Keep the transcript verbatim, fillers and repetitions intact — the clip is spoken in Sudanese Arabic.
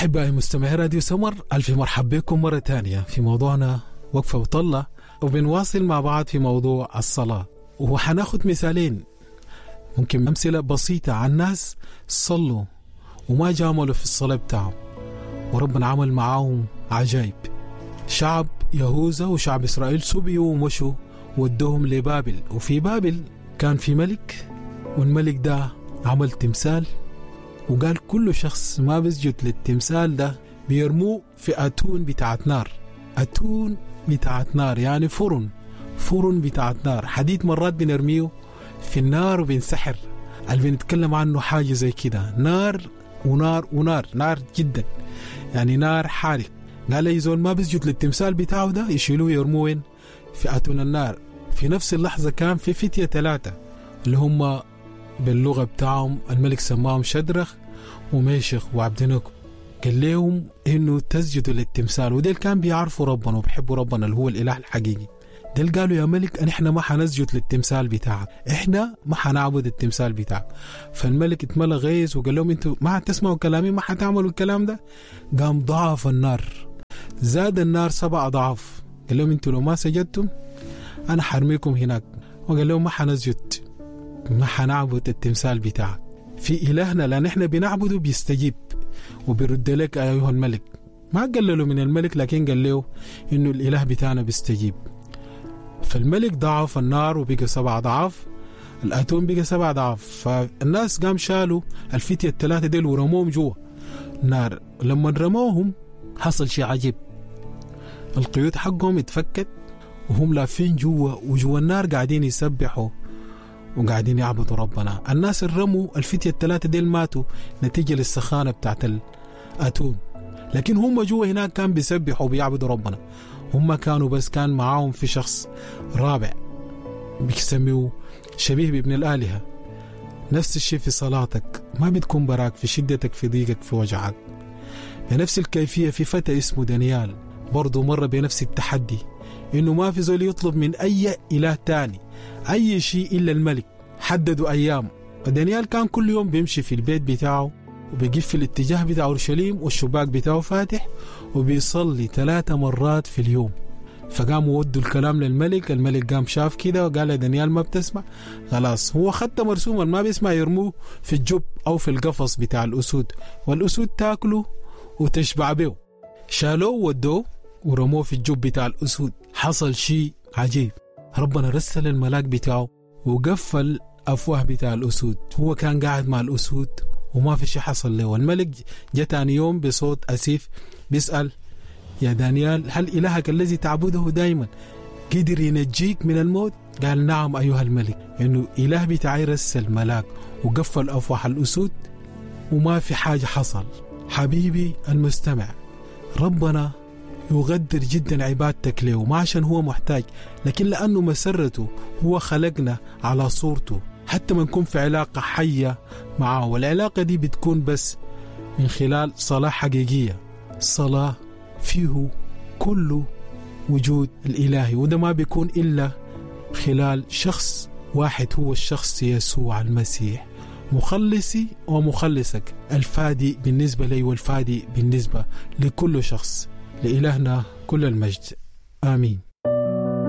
أحبائي مستمعي راديو سمر، ألف مرحب بكم مرة تانية في موضوعنا وقفة وطلة، وبنواصل مع بعض في موضوع الصلاة. وحناخد مثالين، ممكن أمثلة بسيطة عن ناس صلوا وما جاملوا في الصلاة بتاعهم وربنا عمل معاهم عجائب. شعب يهوذا وشعب إسرائيل سبيوا ومشوا ودوهم لبابل، وفي بابل كان في ملك، والملك ده عمل تمثال وقال كل شخص ما بيسجد للتمثال ده بيرموه في أتون بتاعت نار. أتون بتاعت نار يعني فرن، فرن بتاعت نار، حديد مرات بنرميه في النار وبنسحر. اللي بنتكلم عنه حاجة زي كده، نار ونار ونار، نار جدا يعني نار حارق. قال أي زول ما بيسجد للتمثال بتاعه ده يشيلوه يرموه وين؟ في أتون النار. في نفس اللحظة كان في فتية ثلاثة اللي هم باللغة بتاعهم الملك سماهم شدرخ وميشخ وعبدنكو، قال لهم إنه تسجدوا للتمثال. وديل كان بيعرفوا ربنا وبيحبوا ربنا اللي هو الإله الحقيقي. ديل قالوا يا ملك إحنا ما حنسجد للتمثال بتاعك، إحنا ما حنعبد التمثال بتاعك. فالملك اتملى غيظ وقال لهم انتوا ما حتسمعوا كلامي، ما حتعملوا الكلام ده. قام ضعف النار، زاد النار سبع أضعاف. قال لهم انتوا لو ما سجدتم أنا حرميكم هناك. وقال لهم ما حنسجد، ما حنعبد التمثال بتاعك، في إلهنا لأن إحنا بنعبده بيستجيب وبيرد لك أيها الملك. ما قللوا من الملك، لكن قال له إنه الإله بتاعنا بيستجيب. فالملك ضعف النار وبقى سبع أضعاف، الأتون بقى سبع أضعاف. فالناس قام شالوا الفتية الثلاثة ديل ورموهم جوا نار. لما رموهم حصل شيء عجيب، القيود حقهم اتفكت وهم لافين جوا، وجوا النار قاعدين يسبحوا وقاعدين يعبدوا ربنا. الناس الرموا الفتية الثلاثة ديل ماتوا نتيجة للسخانة بتاعت الأتون، لكن هم جوا هناك كان بيسبحوا وبيعبدوا ربنا. هم كانوا بس كان معاهم في شخص رابع بيسميه شبيه بابن الآلهة. نفس الشيء في صلاتك، ما بتكون براك في شدتك في ضيقك في وجعك. بنفس الكيفية في فتى اسمه دانيال برضو مر بنفس التحدي، إنه ما في زول يطلب من أي إله تاني أي شيء إلا الملك. حددوا أيام، ودانيال كان كل يوم بيمشي في البيت بتاعه وبيقف في الاتجاه بتاع أورشليم والشباك بتاعه فاتح وبيصلي ثلاثة مرات في اليوم. فقاموا ودوا الكلام للملك، الملك قام شاف كده وقال دانيال ما بتسمع، خلاص هو خدت مرسوما ما بيسمع، يرموه في الجب أو في القفص بتاع الأسود والأسود تاكله وتشبع به. شالوه ودوه ورموه في الجب بتاع الأسود. حصل شيء عجيب، ربنا رسل الملاك بتاعه وقفل أفواه بتاع الأسود. هو كان قاعد مع الأسود وما في شيء حصل له. والملك جاء تاني يوم بصوت أسيف بيسأل يا دانيال هل إلهك الذي تعبده دائما قدر ينجيك من الموت؟ قال نعم أيها الملك، إنه إله بتاعي رسل ملاك وقفل أفواه الأسود وما في حاجة حصل. حبيبي المستمع، ربنا يغدر جدا عبادتك له، ما عشان هو محتاج، لكن لأنه مسرته هو خلقنا على صورته حتى ما نكون في علاقة حية معه. والعلاقة دي بتكون بس من خلال صلاة حقيقية، صلاة فيه كل وجود الإلهي، وده ما بيكون إلا خلال شخص واحد، هو الشخص يسوع المسيح، مخلصي ومخلصك، الفادي بالنسبة لي والفادي بالنسبة لكل شخص. لإلهنا كل المجد، آمين.